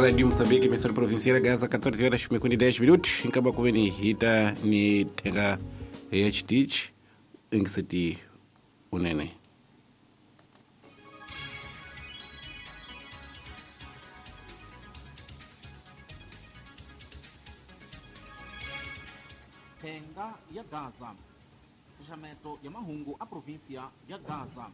Radio Moçambique, emissora provincial Gaza, 14 horas e 10 minutos. Enkaba kuveni hita ni thenga ya chitich ingiseti unene. Thenga ya Gaza. Xaxameto ya mahungu a província ya Gaza.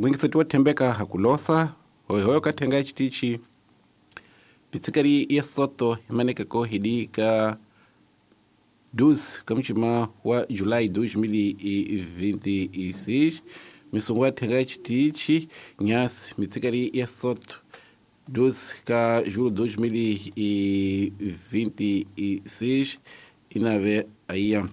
Mwingiseti wa thembeka hakulosa hoyohoyo ka thenga ya chitichi pitsikari ya soto imanekeko hidi ka 12 kamuchima wa Julai 2026 misungu ya thenga ya chitichi nyasi mitsikari ya soto 12 ka julho 2026 inave aiya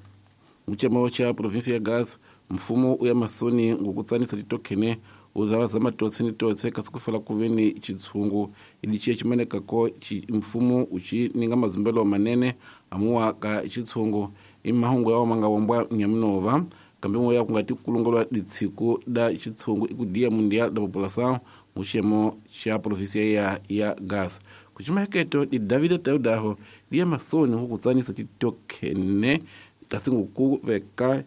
muchemo cha província ya Gaza mfumo uya masoni ngokutsanisa titokhene uzava matotse ni totse kasi kufela kuveni chitshungu ili chiye chimanekako mfumo uchi ninga mazumbelo manene amuwa ka chitshungu imahungu yawo mangavombwa nyamunova kambe moya kungati kulongolwa ditshiku da chitshungu ikudiya mundial da população muxiyemo xa província ya Gaza kuchimaheketo di David Taudaho diya masoni ngokutsanisa titokhene kasi ngokuveka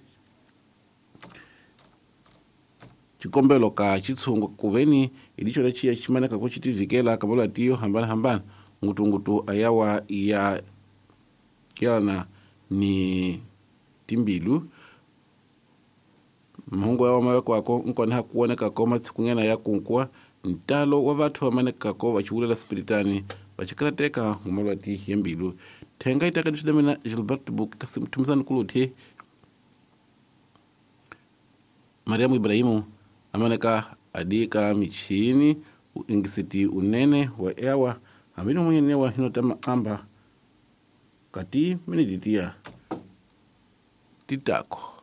xikombelo ka xitshungu kuveni hi lixo lexiya ximaneka ku xi tivikela ka malwati yo hambanahambana ngutungutu ayawa ya yelana ni timbilu mahungu yawa mavekwako nkona ha kuwonekako matshikunyana ya kunkuwa ntalo wa vathu va manekako va xivulela spiritani va xikarateka hi malwati ya mbilu thenga yi taka leswi mina Gilbert Book kasi mthumisani kuluthi Mariamu Ibrahimu amaneka adika michini uingisiti unene wa ewa hamini munyenewa hinotama amba kati miniditiya titako.